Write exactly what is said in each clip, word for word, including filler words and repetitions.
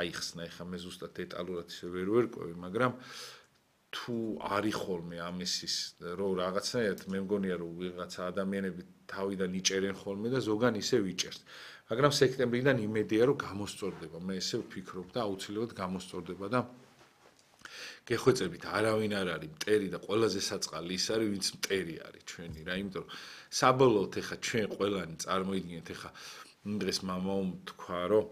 აიხსნა, ეხა მე ზუსტად დეტალურად ისე ვერ ვერკვევი, მაგრამ თუ არის ხოლმე ამისის რომ რაღაცნაირად მე მგონია რომ ვიღაცა ადამიანები თავიდან იჭერენ ხოლმე და ზოგან ისე ვიჭერს. მაგრამ სექტემბრიდან იმედია რომ გამოსწორდება. მე ესე ვფიქრობ და აუცილებლად გამოსწორდება და გეხვეწებით არავინ არ არის მტერი და ყველაზე საწყალი ის არის ვინც მტერი არის ჩვენი რა, იმიტომ რომ საბოლოოდ ეხა ჩვენ ყველანი წარმოიდგინეთ ეხა დღეს მამაომ თქვა რომ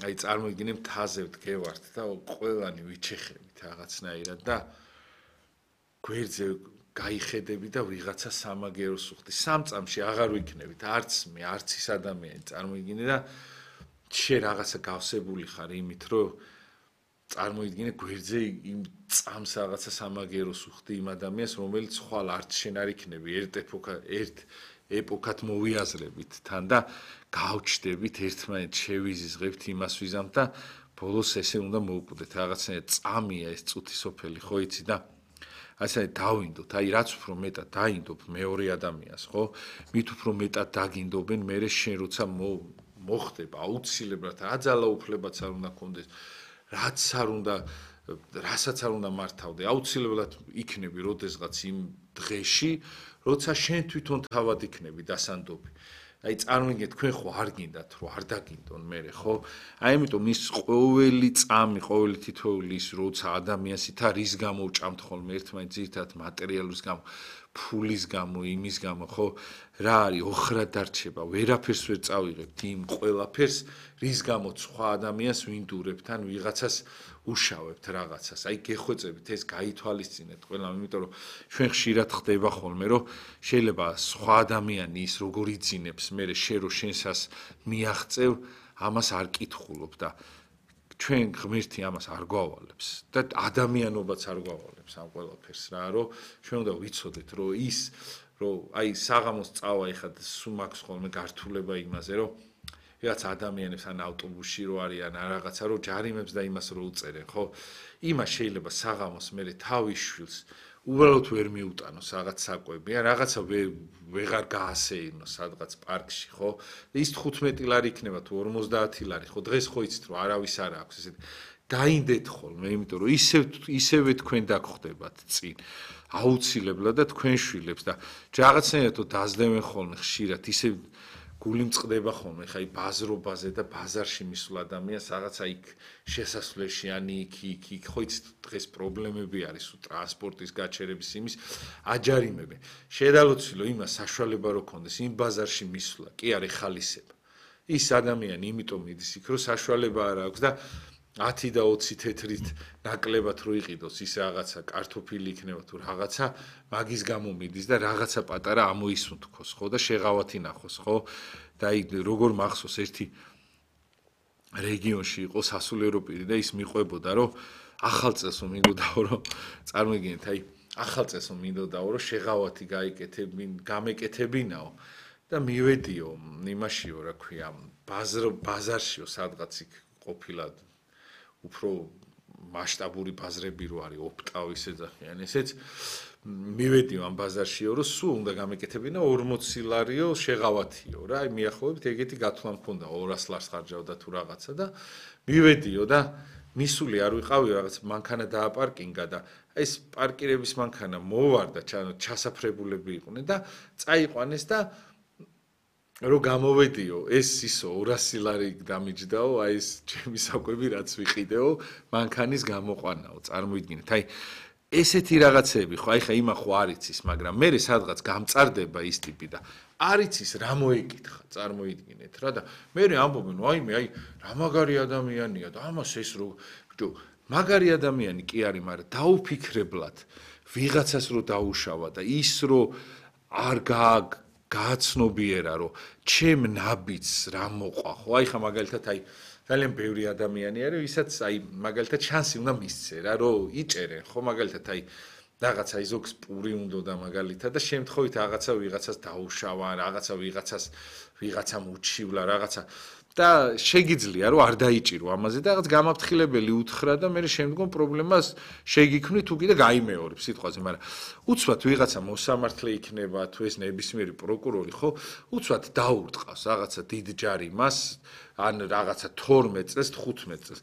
აი წარმოიდგინე მთაზე ვდგევართ და ყველანი ვიჩეხებით რაღაცნაირად და გვერდზე გაიხედები და ვიღაცა სამაგეროს უხდი. სამ წამში აღარ ვიქნებით არც მე, არც ის ადამიანი წარმოიდგინე და შე რაღაცა გავსებული ხარ იმით რომ წარმოიდგინე გვერდზე იმ წამს რაღაცა სამაგეროს უხდი იმ ადამიანს რომელიც ხვალ არც შენ არ იქნები ერთ ეპოქა ერთ ეპოქად მოვიაზრებით თან და გავჩდებით ერთმანეთს შევიზიზღებთ იმას ვიზამთ და ბოლოს ესე უნდა მოვკვდეთ რაღაცნაირად წამია ეს წუთი სოფელი ხო იცი და ასე დავინდოთ აი რაც უფრო მეტად დაინდობ მეორე ადამიანს ხო მით უფრო მეტად დაგინდობენ მე შენ როცა მოხდება აუცილებლად რა ძალაუფლებაც არ უნდა გქონდეს რაც არ უნდა რასაც არ უნდა მართავდე აუცილებლად იქნები როდესღაც იმ დღეში როცა შენ თვითონ თავად იქნები დასანდობი აი წარმოიდგინე თქვენ ხო არ გინდათ რომ არ დაგინდონ მე ხო აი ამიტომ ის ყოველი წამი ყოველი თითოეული ის როცა ადამიანს თა რის გამო ვჭამთ ხოლმე ერთმანეთს ძირთად მატერიალის გამო ფულის გამო იმის გამო ხო რა არის ოხრად დარჩება ვერაფერს ვერ წავიღებთ იმ ყველაფერს რის გამოც სხვა ადამიანს ვინდურებთ ან ვიღაცას უშავებთ რაღაცას აი გეხვეწებით ეს გაითვალისწინეთ ყველამ იმიტომ რომ ჩვენ ხშირად ხდება ხოლმე რომ შეიძლება სხვა ადამიანი ის როგორ იძინებს მე შე რო შენსას მიაღწევ ამას არ კითხულობ და ჩვენ ღმერთი ამას არ გვავალებს და ადამიანობაც არ გვავალებს ამ ყველაფერს რა რომ ჩვენ უნდა ვიცოდეთ რომ ის რომ აი საღამოს წავა ეხლა სულ მაქვს ხოლმე გართულება იმაზე რომ რაც ადამიანებს ან ავტობუსში რო არიან ან რაღაცა რო ჯარიმებს და იმას რო უწერენ ხო იმას შეიძლება საღამოს მე თავის შვილს უბრალოდ ვერ მიუტანოს რაღაც საკვები ან რაღაცა ვეღარ გაასეირნოს სადღაც პარკში ხო ის თხუთმეტი ლარი იქნება თუ ორმოცდაათი ლარი ხო დღეს ხო იცით რომ არავის არ აქვს ესე დაინდეთ ხოლმე იმიტომ რომ ისევ ისევე თქვენ დაგხვდებათ წინ აუცილებლად და თქვენ შვილებს და რაღაცნაირად დაძლებენ ხოლმე ხშირად ისე გული მწყდება ხოლმე ხა აი ბაზრობაზე და ბაზარში მისულ ადამიანს რაღაცა იქ შესასვლელში ან იქ იქ იქ ხო იცით დღეს პრობლემები არის უ ტრანსპორტის გაჩერების იმის აჯარიმებენ შედალოცილო იმას საშუალება რო ქონდეს იმ ბაზარში მისვლა კი არის ხალისება ის ადამიანი იმიტომ მიდის იქ რომ საშუალება არ აქვს და ათი და ოცი თეთრით ნაკლებად რო იყიდოს ის რაღაცა კარტოფილი იქნება თუ რაღაცა მაგის გამო მიდის და რაღაცა პატარა ამოისუნთქოს ხო და შეღავათი ნახოს ხო და აი როგორ მახსოვს ერთი რეგიონში იყო სასულიერო პირი და ის მიყვებოდა რომ ახალ წელს მინდოდაო რომ წარმოიდგინეთ აი ახალ წელს მინდოდაო რომ შეღავათი გაიკეთებინ გამეკეთებინაო და მივედიო იმაშიო რა ქვია ბაზარ ბაზარშიო სადღაც იქ ყოფილა უფრო მასშტაბური ბაზრები რო არის ოპტავ ისე ძახიან ესეც მივედიო ამ ბაზარშიო რომ სულ უნდა გამეკეთებინა ორმოცი ლარიო შეღავათიო რა აი მიახლოებით ეგეთი გათვლა მქონდა ორას ლარს ხარჯავდა თუ რაღაცა და მივედიო და მისული არ ვიყავი რაღაც მანქანა დააპარკინგა და ეს პარკირების მანქანა მოვარდა ჩასაფრებულები იყვნენ და წაიყვანეს და რო გამოვედიო ეს ისო ორასი ლარი დამიჯდაო აი ეს ჩემი საკვები რაც ვიყიდეო მანქანის გამოყვანაო წარმოიდგინეთ აი ესეთი რაღაცები ხო აი ხა იმა ხო არ იცის მაგრამ მე სადღაც გამწარდება ის ტიპი და არ იცის რა მოეკითხა წარმოიდგინეთ რა და მე ამბობენ აი მე აი რა მაგარი ადამიანია და ამას ეს რო ბიჭო მაგარი ადამიანი კი არის მაგრამ დაუფიქრებლად ვიღაცას რო დაუშავა და ის რო არ გააგ გააცნობიერა რომ ჩემ ნაბიჯს რა მოყვა ხო აი ხა მაგალითად აი ძალიან ბევრი ადამიანი არის ვისაც აი მაგალითად შანსი უნდა მისცე რა რომ იჭერენ ხო მაგალითად აი რაღაცა იზოქს პური უნდა და მაგალითად და შემთხვევით რაღაცა ვიღაცას დაუშავა რაღაცა ვიღაცას ვიღაცამ უჩივლა რაღაცა და შეგიძლია რომ არ დაიჭირო ამაზე და რაღაც გამაფრთხილებელი უთხრა და მე შემდგომ პრობლემას შეგიქმნი თუ კიდე გაიმეორებ სიტყვაზე მაგრამ უცბად ვიღაცა მოსამართლე იქნება თუ ეს ნებისმიერი პროკურორი ხო უცბად დაურტყავს რაღაცა დიდ ჯარიმას ან რაღაცა თორმეტ წელს თხუთმეტ წელს